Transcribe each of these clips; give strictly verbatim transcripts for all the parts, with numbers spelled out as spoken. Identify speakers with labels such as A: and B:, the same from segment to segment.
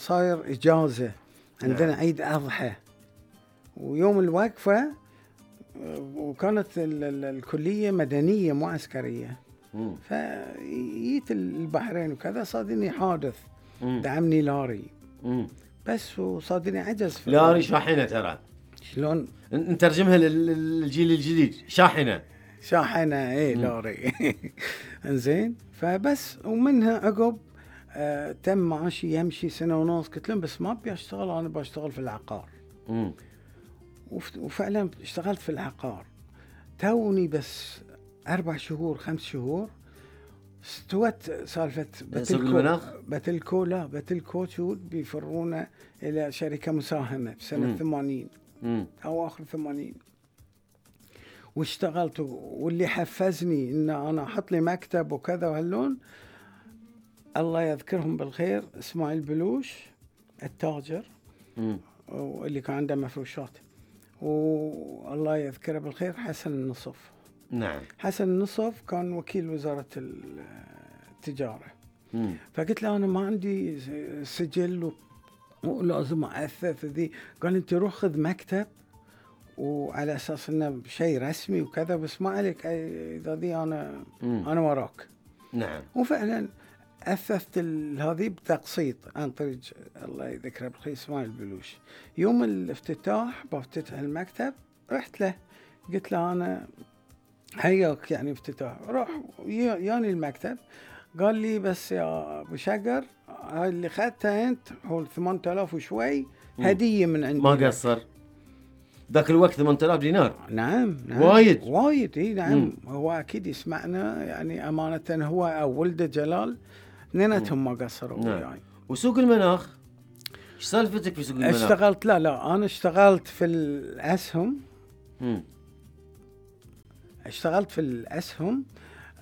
A: صاير إجازة عندنا. نعم. عيد أضحى ويوم الوقفة، وكانت الكلية مدنية مو عسكرية. فجيت البحرين وكذا، صادني حادث. مم. دعمني لاري. مم. بس وصادني عجز.
B: لاري شاحنة ترى.
A: شلون
B: نترجمها للجيل الجديد؟ شاحنة
A: شاحنة ايه لاري. انزين، فبس ومنها عقب آه تم معاشي يمشي سنة ونص. قلت لهم بس ما ابي اشتغل، انا بشتغل في العقار. مم. وفعلا اشتغلت في العقار. توني بس أربع شهور خمس شهور استوت سالفة
B: بتلكو.
A: بتلكو لا بتلكو شو بيفرونا إلى شركة مساهمة في سنة ثمانين أو آخر ثمانين. واشتغلت، واللي حفزني إن أنا أحط لي مكتب وكذا وهاللون، الله يذكرهم بالخير، إسماعيل بلوش التاجر مم. واللي كان عنده مفروشات، والله يذكره بالخير حسن النصف.
B: نعم.
A: حسن النصف كان وكيل وزارة التجارة. مم. فقلت له أنا ما عندي سجل ولازم أثث ذي. قال أنت روح خذ مكتب وعلى أساس إنه شيء رسمي وكذا، بس ما عليك إذا ذي أنا مم. أنا وراك.
B: نعم.
A: وفعلا أثثت هذه بتقسيط عن طريق الله يذكره بالخير إسماعيل بلوش. يوم الافتتاح بفتتح المكتب رحت له، قلت له أنا حياك يعني افتتاح، روح ياني المكتب. قال لي بس يا أبو شقر، هاي اللي خدتها أنت هو ثمانية آلاف وشوي هدية من عندي.
B: ما قصر ذاك الوقت ثمانية آلاف دينار.
A: نعم, نعم.
B: وايد
A: وايد اي نعم. مم. هو أكيد يسمعنا يعني أمانة، هو أو ولده جلال اثنيناتهم ما قصروا وياي.
B: نعم. وسوق المناخ ايش سالفتك في سوق المناخ؟
A: اشتغلت لا لا أنا اشتغلت في الأسهم. مم. اشتغلت في الأسهم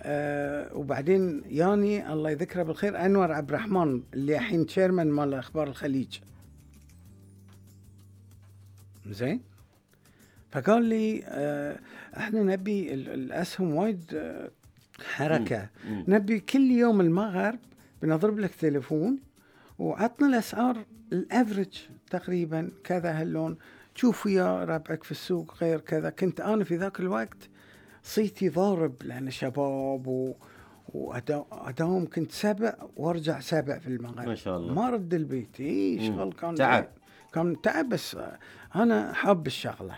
A: آه وبعدين ياني الله يذكره بالخير أنور عبد الرحمن اللي الحين تشيرمان مال أخبار الخليج. زين، فقال لي آه احنا نبي الأسهم وايد آه حركة. مم. مم. نبي كل يوم المغرب بنضرب لك تليفون وعطنا الأسعار الأفريج تقريبا كذا هاللون، تشوف يا ربعك في السوق غير كذا. كنت أنا في ذاك الوقت صيتي ضارب لأن شباب و... وأداوم كنت سبع وارجع سبع في المغرب.
B: ما شاء الله.
A: ما رد البيت. إيه شغل كان
B: تعب.
A: كان تعب، بس أنا حاب الشغلة.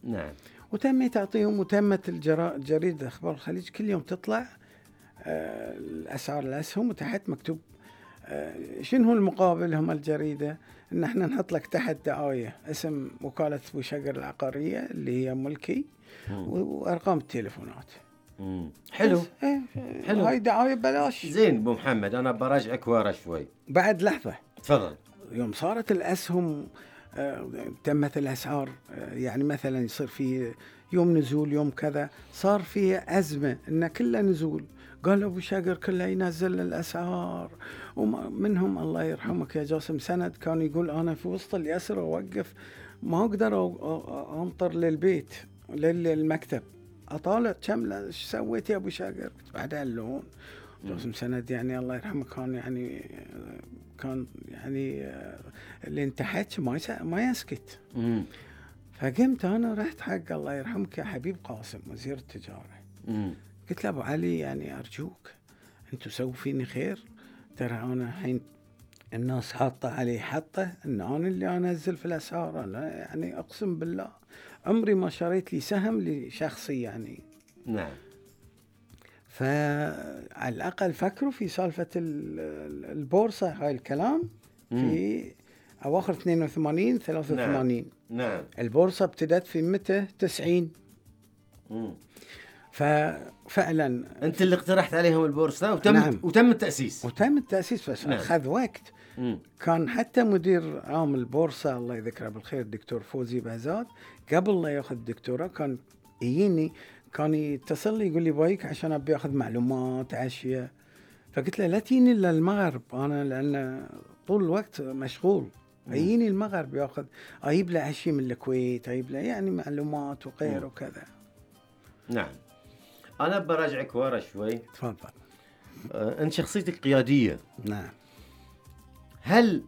B: نعم.
A: وتميت أعطيهم، وتمت الجرا... جريدة أخبار الخليج كل يوم تطلع آه الأسعار الأسهم، وتحت مكتوب آه شنو هو المقابل هم الجريدة، إن إحنا نحط لك تحت دعاية اسم وكالة أبو شقر العقارية اللي هي ملكي وأرقام التليفونات.
B: مم. حلو.
A: إيه
B: حلو.
A: هاي دعاية بلاش.
B: زين أبو محمد، أنا براجعك ورا شوي.
A: بعد لحظة.
B: تفضل.
A: يوم صارت الأسهم آه تمت الأسعار آه يعني مثلا يصير في يوم نزول يوم كذا، صار فيه أزمة إن كله نزول. قال أبو شقر كله ينزل الأسعار، ومنهم الله يرحمك يا جاسم سند كان يقول أنا في وسط اليسر أوقف ما أقدر أنطر للبيت للمكتب أطالع كم إيش سويت يا أبو شقر بعد اللون. جاسم سند يعني الله يرحمه كان يعني كان يعني اللي انتحت ما ما يسكت. مم. فقمت أنا رحت حق الله يرحمك يا حبيب قاسم وزير التجارة. مم. قلت له أبو علي يعني أرجوك أنتوا سووا فيني خير، ترى أنا الحين الناس حاطة علي حطة إن أنا اللي أنزل في الأسعار. أنا يعني أقسم بالله عمري ما شريت لي سهم لشخصي يعني.
B: نعم.
A: فعلى الأقل فكروا في سالفة البورصة هاي الكلام في أواخر اثنين وثمانين ثلاثة وثمانين.
B: نعم. نعم.
A: البورصة ابتدت في متى تسعين. مم. ففعلا
B: أنت اللي اقترحت عليهم البورصة وتم نعم. وتم التأسيس
A: وتم التأسيس بس نعم. أخذ وقت. مم. كان حتى مدير عام البورصة الله يذكره بالخير الدكتور فوزي بهزاد قبل لا يأخذ الدكتوراه كان يجيني كان يتصل لي يقول لي بايك عشان أبي أخذ معلومات عشية. فقلت له لا تيني إلا المغرب أنا لأن طول الوقت مشغول. يجيني المغرب يأخذ أجيب له عشية من الكويت، أجيب له يعني معلومات وغير وكذا.
B: نعم. أنا براجعك ورا شوي.
A: تفضل.
B: أه أنت شخصيتك قيادية.
A: نعم.
B: هل